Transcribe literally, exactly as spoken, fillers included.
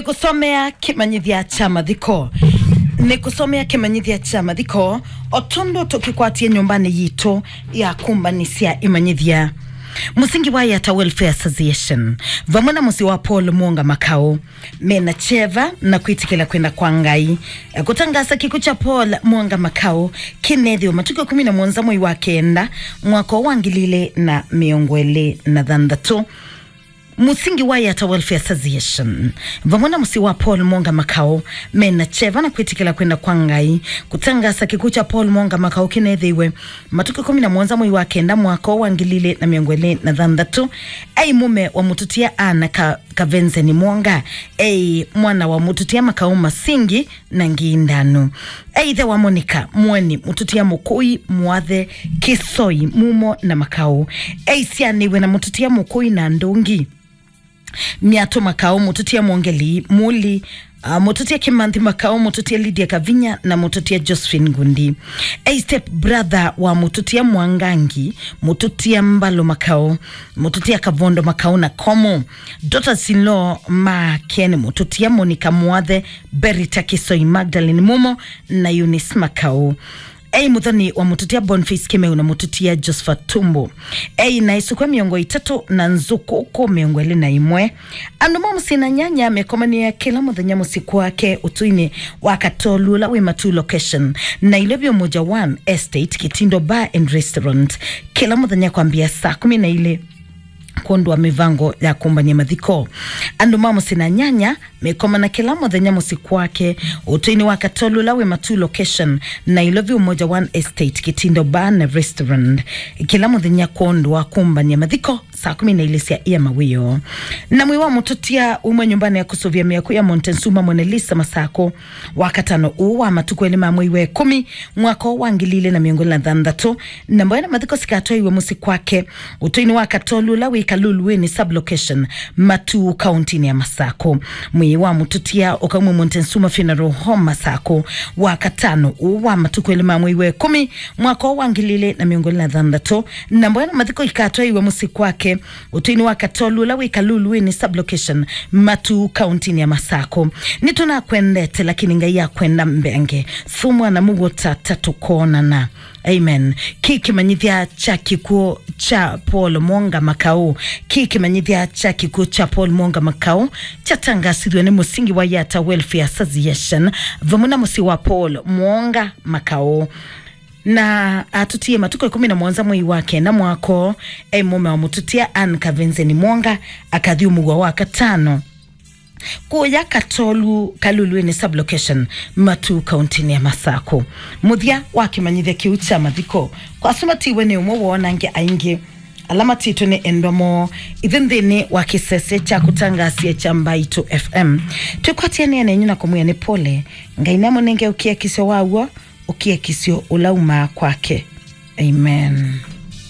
Nĩkũsomea kĩmanyĩthya kya mathiko. Nĩkũsomea kĩmanyĩthya kya mathiko, o tondũ tũkĩkwatie nyũmbanĩ yitũ ya kũmbanĩsya ĩmanyĩthya. Mũsingi wa Yata Welfare Association, vamwe na mũsyĩ wa Paul Mwonga Makau, mena kyeva na kwĩtĩkĩla kwenda kwa Ngai, e, kũtangaasa kĩkw'ũ kya Paul Mwonga Makau kĩneethĩwe matukũ ĩkũmi na mũonza mwei wa kenda, mwaka wa ngili ilĩ na mĩongo ĩlĩ na thanthatũ. Mũsingi wa Yata Welfare Association, vamwe na mũsyĩ wa Paul Mwonga Makau, mena kyeva na kwĩtĩkĩla kwenda kwa Ngai, kũtangaasa kĩkw'ũ kya Paul Mwonga Makau kĩneethĩiwe matukũ ĩkũmi na mũonza mwei wa kenda, mwaka wa ngili ilĩ na mĩongo ĩlĩ na thanthatũ. Ei mũme wa mũtũtia Anna Ka-, Kavenzeni Mwonga. Ei mwana wa mũtũtia Makau Masingi na Ngindanu. Ei ĩthe wa Monica Mweni, mũtũtia Mũkũi, Mwathe, Kĩsoi, Mumo na Makau. Ei syanĩw'e na mũtũtia Mũkũi na Ndũngi, Myatũ Makau, mũtũtia Mwongeli, Muli, ah, mũtũtia Kĩmanthi Makau, mũtũtia Lydia Kavinya na mũtũtia Josephine Ngundi. Ei step brother wa mũtũtia Mwangangi, mũtũtia Mbalũ Makau, mũtũtia Kavondo Makau na Komo. Daughters-in-law make nĩ mũtũtia Monica Mwathe, Berita Kĩsoi, Magdalene Mumo na Eunice Makau. Ei mũthoni wa mũtũtia Boniface Kĩmeu na mũtũtia Josephat Tumbo. Ei na ĩsũkw'a mĩongo ĩtatũ na nzũkũkũ mĩongo ĩlĩ na ĩmwe. Andũ ma mũsyĩ na nyanya mekomanĩa kĩla mũthenya mũsyĩ kwake ũtũinĩ wa Katolu ũla wĩ Matuu Location, Nairobi, Umoja One Estate, Kitindo Bar and Restaurant, kĩla mũthenya kwambĩa saa kũmi na ilĩ kwondũ wa mĩvango ya kũmbany'a mathiko. Andũ ma mũsyĩ na nyanya mekomana kĩla mũthenya mũsyĩ kwake ũtũinĩ wa Katolu ũla wĩ Matuu Location, Nairobi, Umoja One Estate, Kitindo Bar na Restaurant, kĩla mũthenya kwondũ wa kũmbany'a mathiko saa kũmi na ilĩ sya ĩa mawĩoo. Na mwĩĩ wa mũtũtia uma nyũmbanĩ ya kũsũvĩa mĩako ya Montezuma Mona Lisa Masakũ, Wakatano ũũ wa matukũ elĩ ma mwei wa ĩkũmi, mwaka wa ngili ilĩ na mĩongo ĩlĩ na thanthatũ, na mboya na mathiko sikatwaiwe mũsyĩ kwake ũtũinĩ wa Katolu ũla wĩ Kaluluĩnĩ Sub-Location, Matuu, kauntinĩ ya Masakũ. Mwĩĩ wa mũtũtia ũkaumwa Montezuma Funeral Home, Masakũ, Wakatano ũũ wa matukũ elĩ ma mwei wa ĩkũmi, mwaka wa ngili ilĩ na mĩongo ĩlĩ na thanthatũ, na mboya na mathiko ikatwaiwe mũsyĩ kwake ũtũinĩ wa Katolu ũla wĩ Kaluluĩnĩ Sub-Location, Matuu, kauntinĩ ya Masakũ. Nĩtũnakwendete, lakini Ngai akwenda mbenge. Sumwa na mũguo tata tũkonana. Amen. Kĩ kĩmanyĩthya kya kĩkw'ũ kya Paul Mwonga Makau. Kĩ kĩmanyĩthya kya kĩkw'ũ kya Paul Mwonga Makau kyatangasithw'e nĩ mũsingi wa Yata Welfare Association vamwe na mũsyĩ wa Paul Mwonga Makau. Na atũtie matukũ ĩkũmi na mũonza mwei wa kenda mwaka ũũ, e mũme wa mũtũtia Ann Kavenzeni Mwonga akathi ũmũw'a Wakatano kũya Katolu, Kaluluĩnĩ Sub-Location, Matuu, kauntinĩ ya Masakũ. Mũthya wa kĩmanyĩthya kĩu kya mathiko, kwa asu matiwe nĩ ũmwe woo na angĩ aingĩ ala matitwe nĩ endwa moo ithyĩ nthĩnĩ wa kĩsese kya kũtangaasya kya Mbaitũ F M. Twĩkwatĩanĩa nenyu na kũmwĩa nĩ pole. Ngai namũnenge ũkiakisyo wa w'o, ũkiakisyo ũla umaa kwake. Amen.